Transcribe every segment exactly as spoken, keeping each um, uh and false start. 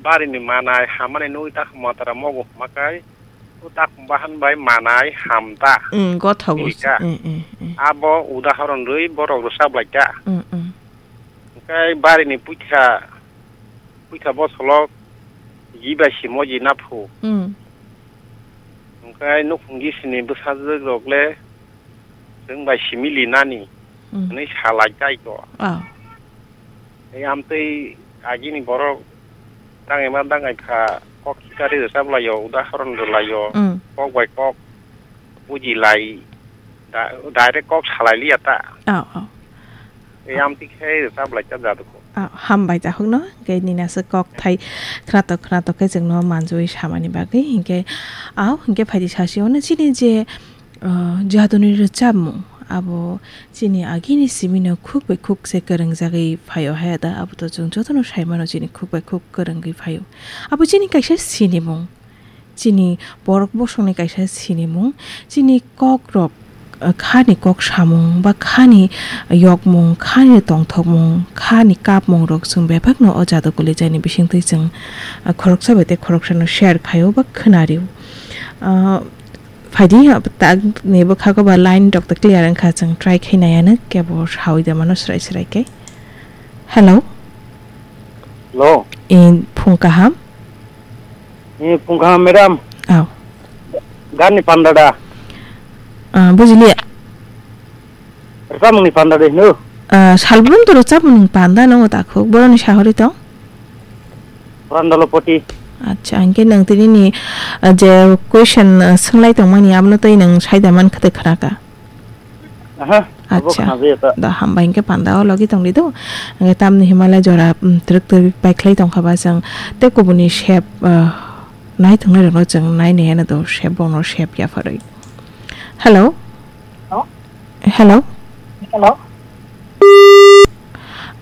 Barini manai hamani nugwi takhuk matara mogo hwma kai, o takhuk bahan bai manai ham ta. Mm, gothogo. Hika. Mm, mm, mm. Abo udahoron rwi borok rwchap lai ta. Mm, mm. Hwnkhe barini puitha, puitha bosolok ji bai simo ji naphu. Mm. Hwnkhe nukhung gisini bwsajwk rok le chwng bai simi linani, mm, hwnwi sa lai tai ko. Ah. Tei amtwi agini borok dangaima dangai kha, kok khitari rwchap lai o, udahoron rw lai o, mm, kok bai kok buji lai, da-, direct kok sa lai liya ta. Oh, oh. Tei amtwi khe rwchap lai ta jadu ko. Ah, hambai ta hukno, hwnkhe nini aswk kok thai khwnatok khwnatok khe chwngno manjui samani bagwi, hwnkhe, ah, hwnkhe phaidi sasi ono chini je, ah, jaduni rwchapmung, abo chini agini simino khuk bai khuk se kwrwngjagwi phaio haya da, abo to chwng jotono sai mano chini khuk bai khuk kwrwngwi phaio. Abo chini kaisa sinimung, chini borok bosongni kaisa sinimung, chini kokrok, ah, khani kok samung ba khani yokmung, khani tongthokmung, khani kapmung rok chwng bebakno o jadu kolijaini bisingtwi chwng, ah, khoroksa bai tei khoroksano share khaio ba khwnario. Ah, Phaidi, tak ni bwkhago ba line rok ta clear wngkha, chwng try khai naiya no kebo sawi da mano srai srai khe. Hello. Hello. In phung kaham? Ni phung kaham, madam. Aw. Gani panda da? Ah, bujiliya. Rwchapmungni panda de hino? Ah, salbrum to rwchapmungni panda no takhuk, boroni sahori tong? Brandalopoti. Acha, hwnkhe nwng tini ni, ah, je question, ah, swng lai tong mani, abono tei nwng sai da man kha tei khna kha? Aha, abo acha. Khna jaya ta. Da hambai hwnkhe panda o logi tong di do. Hwnkhe tamni himale jora, mm, twrwk twrwk bai khlai tong kha ba chwng tei kubuni sep, ah, nai tongnai rok no chwng nai nai ano do sep bono sep ya pharwi. Hello? Hello? Hello? Hello?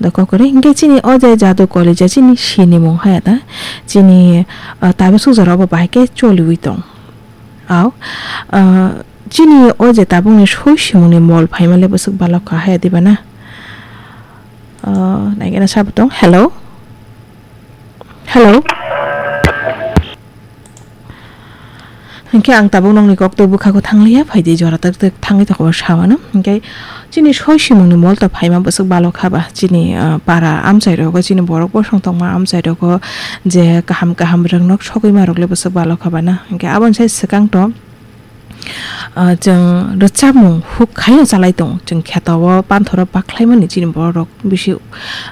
Da kokore, hingke chini o je jadu kolija chini sinimung haya da. Chini, ah, tabuk suk jora obo bahai ke choliwi tong. Au, ah, chini o je tabukni soi simungni mol phaima le bwswk balok kha haya diba na? Ah, naikhe na sabo tong. Hello? Hello? Hingke ang tabuk nokni koktwi bwkhago thangliya, phaidi jora tak tak thangwi tokbo sawano. Hingke chini soi simungni mol to phaima bwswk balok haba. Chini, ah, para amchai rogo, chini borok bosong tongma amchai rogo je kaham kaham rwngnok sogwi ma rok le bwswk balok haba na. Hingke aboni sai swkang to, ah, chwng rwchapmung huk khaino chalai tongo. Chwng kheto o panthoro baklaimani chini borok bisi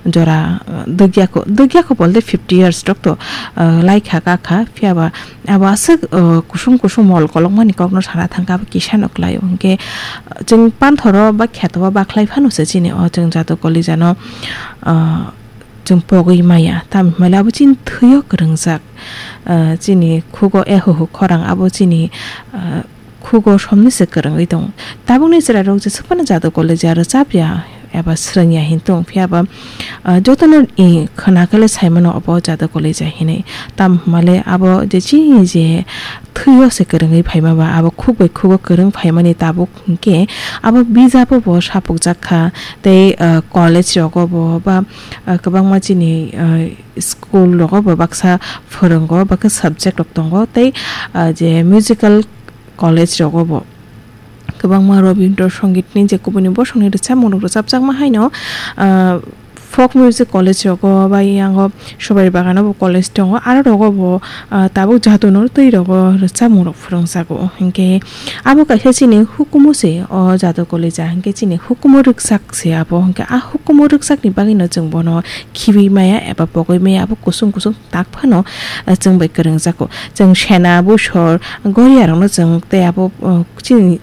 jora, ah, dwgyakho, dwgyakho bolte fifty years rok to, ah, laikha kakha, phiyaba abo aswk, ah, kusum kusum mol kolokmani kokno sana thangkha, abo kisa no kwlaio. Hinkhe, ah, chwng panthoro ba kheto o baklai phano se chini o chwng jadu kolijano, ah, chwng pogwi maya, tamo hinmale abo chini thwio kwrwngjak, ah, chini khugo ehuhu khorang abo chini, ah, khugo somni se kwrwngwi tongo. Tabukni chwrairok jeswk phano jadu kolija rwchapya eba swrwngya hin tong phiya ba, ah, jotono i khwna khe le saimano obo jadu kolija hinwi. Tamo hinmale abo je chini je thwio se kwrwngwi phaima ba abo khuk bai khugo kwrwng phaimani tabuk hinkhe abo bijabo bo sapukjak kha tei, ah, college rogo bo ba, ah, kwbangma chini, ah, school rogo bo baksa phwrwngo, baksa subject rok tongo tei, ah, je musical college rogo bo kwbangma Rabindra Songit ni je kubuni bosongni rwchapmung rok rwchapjakma haino, ah, folk music college rogo bai yango Subari Bagano bo college tongo, aro rogo bo, ah, tabuk jadu no twi rogo rwchapmung rok phwrwngjago. Hinkhe abo kaisa chini hukumu se o jadu kolija, hinkhe chini hukumu rwksak se abo, hinkhe a hukumu rwksakni bagwino chwng bono khibi maya eba pogwi maya abo kusung kusung tak phano, ah, chwng bai kwrwngjago. Chwng sena, busor, goriya rokno chwng tei abo, ah, chini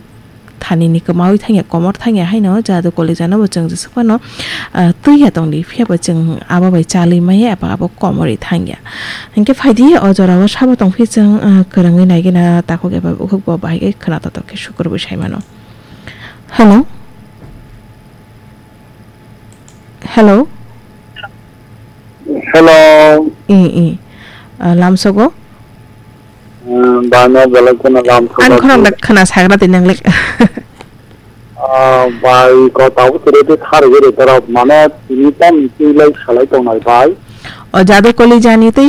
thani ni kwmaui thangya, komor thangya haino jadu kolija no bo chwng jeswk phano, ah, twi ya tongdi, phiya bo chwng abo bai chalwi maya eba abo komorwi thangya. Hinkhe phaidi o jora o sabo tongphi chwng, ah, kwrwngwi naigwina takhuk eba bukhuk bo bahai khe khwna totok khe sukur bwsai mano. Hello? Hello? Hello. I, i. Ah, lamsogo? Hmm, bano belai kheno lam Ani khorang da khwna sagra di nang lek. Ah, bai ko tau tere te thar gere tara mane tini tam tui lai salai tongnai bai. O jadu koli jani tei